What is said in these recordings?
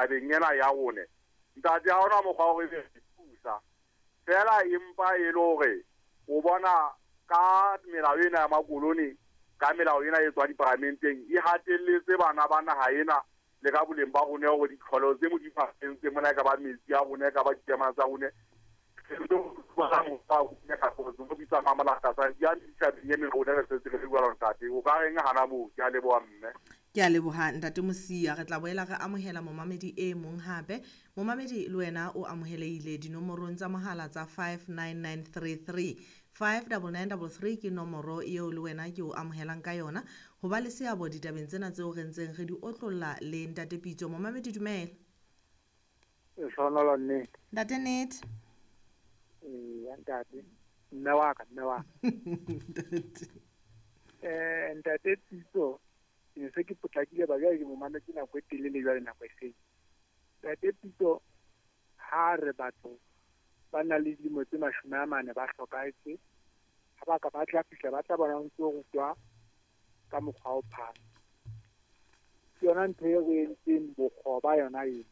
Tabeng ena ya rone, ntate, ha hona mokgwa wa hore ebe re thusa feela, empa e le hore o bona ka melao ena ya makolone, ka melao ena e tswang diparamenteng, e hatelletse bana ba naha ena le ka boleng ba rone, hore ditlholo tse Modimo a entseng mona, e ka ba metsi a rone, e ka ba ditema tsa rone, o ka reng hana moo? Ke a leboha, mme. Ke a leboha, ntate Mosia. Re tla boela re amohela momamedi e mong hape. Momamedi, le wena o amohelehile dinomorong tsa mohala tsa 59933. 59933 ke nomoro eo le wena ke o amohelang ka yona ho ba le seabo ditabeng tsena tseo re ntseng re di otlolla le ntate Pitso. Momamedi, dumela. Lehlohonolo, nnete. Ntate Nete. Eya, ntate. Mme wa ka, mme wa ka. Ntate. Ntate Pitso, ke ne se ke potlakile ba jwale ke mo mametse nako e telele jwale nako e seng. Ntate Pitso, ha re batho ba na le dilemo tse 40 ba hlokahetse, ha ba ka ba tla fihla ba tla bona ho ntso rutwa ka mokgwa o phasa. Ke yona ntho e re entseng bokgoba yona eo.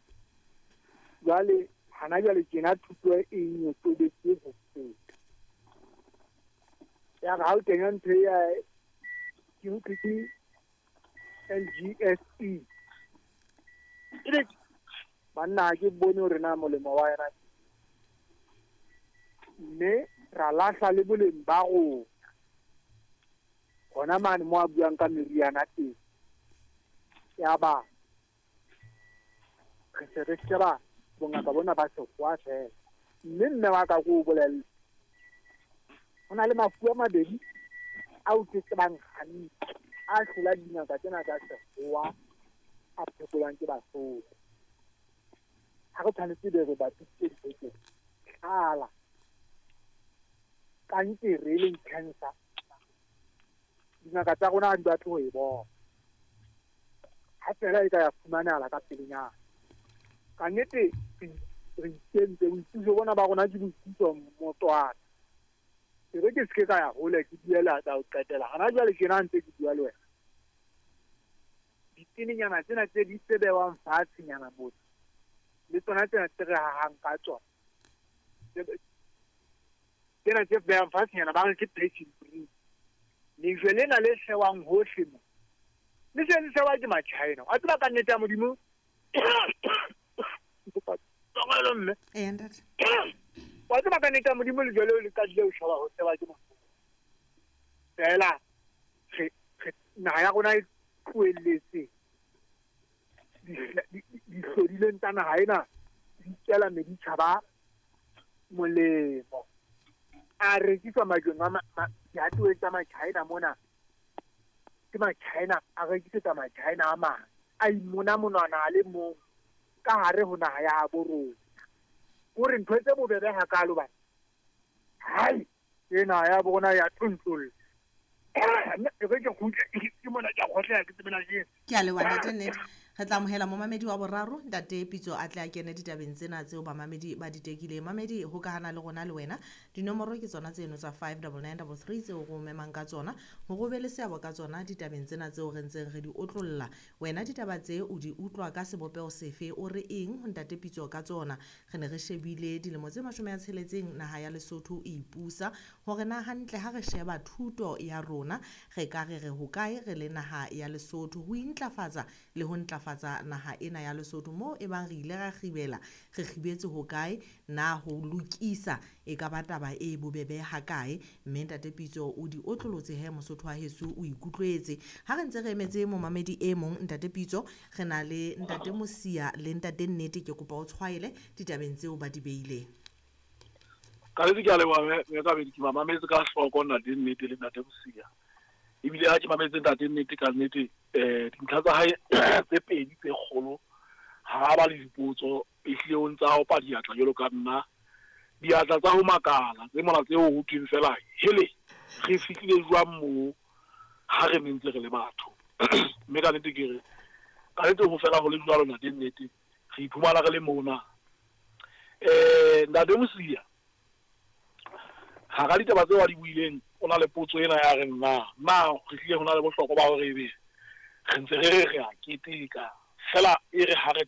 Jwale hana jwale tjena thuto e nyotobetse ho feta. Ya re ha o kenya ntho ya ke utlwe ke LGSE. Ebe banna ha ke bone hore na molemo wa yona, mme ra lahla le boleng ba rona. Hona mane mo a buang ka meriana teng, ya ba re se re sheba bongaka bona ba sekgowa fela. Mme mme wa ka ko o bolelle, ho na le mafu a mabedi ao ke tsebang hantle a hlola dingaka tsena tsa sekgowa a phekolwang ke Basotho. Ha re tshwanetse be re bapisitse dintho tsena, tlala, kankere e leng cancer, dingaka tsa rona ha di batle ho e bona. Ha fela e ka ya fumanehala ka pelenyana. Ka nnete re ikentse boitsebiso bona ba rona ke boitsebiso motwana. E re ke se ke ka ya hole, ke buela tsa ho qetela. Hana jwale tjena ntse ke bua le wena, ditenenyana tsena tse di tse bewang fatshenyana motho, le tsona tsena tse re hahang ka tsona, tsena tse behang fatshenyana ba re ke dressing green. Lejwe lena le sewang hohle mo, le se le sewa ke ma-China. Wa tseba ka nnete ya Modimo, mme. Eya, ntate. Wa tseba ka nnete ya Modimo, lejwe leo le qadile ho sheba ho sewa ke motho. Feela re naha ya rona e tlohelletse dihlodileng tsa naha ena di tswela meditjhaba molemo. A rekiswa majweng a dihatoweng tsa ma-China mona. Ke ma-China a rekisetsa ma-China a mang, a imona monwana a le mong ka hare ho naha ya habo rona. Hore ntho tse bobebe hakalo bana, hai ena ya bona ya tlontlolla. E re ke kgutle ke mona, ke a kgohlela, ke tsebela ke. Ke a leboha, ntate Nnete. Re tla amohela momamedi wa boraro, ntate Pitso a tle a kene ditabeng tsena tseo bamamedi ba di tekileng. Mamedi, hokahana le rona le wena. Dinomoro ke tsona tseno tsa 59933 tseo re o memang ka tsona hore o be le seabo ka tsona ditabeng tsena tseo re ntseng re di otlolla. Wena ditaba tse o di utlwa ka sebopeho sefe? O re eng ho ntate Pitso ka tsona? Re ne re shebile dilemo tse 60 naha ya Lesotho e ipusa, hore na hantle ha re sheba thuto ya rona re ka re re hokae re le naha ya Lesotho ho intlafatsa le ho ntlafatsa naha ena ya Lesotho, moo e bang re ile ra kgibela, re kgibetse hokae, na ho lokisa e ka ba taba e bobebe hakae? Mme ntate Pitso o di otlolotse he, Mosotho wa heso o ikutlwetse. Ha re ntse re emetse momamedi e mong, ntate Pitso, re na le ntate Mosia le ntate Nnete. Ke kopa o tshwaele ditabeng tseo ba di beileng. Ka nnete ke a leboha, mme Kabedi. Ke ba mametse ka hloko ntate Nnete le ntate Mosia. Ebile ha ke mametse ntate Nnete, ka nnete dintlha tsa hae tse pedi tse kgolo, ha ba le dipotso, ehlile o ntsa opa diatla jwalo ka nna, diatla tsa ho makala tse mona tseo ho thweng fela hele, re fihlile jwang moo ha re ne ntse re le batho? Mme ka nnete ke re ka nnete ho fela ho le jwalo, ntate Nnete, re iphumana re le mona. Ntate Mosia, hara ditaba tseo a di buileng, o na le potso ena ya reng na re hlile ho na le bohlokwa ba hore ebe re ntse re re re a keteka fela e re ha re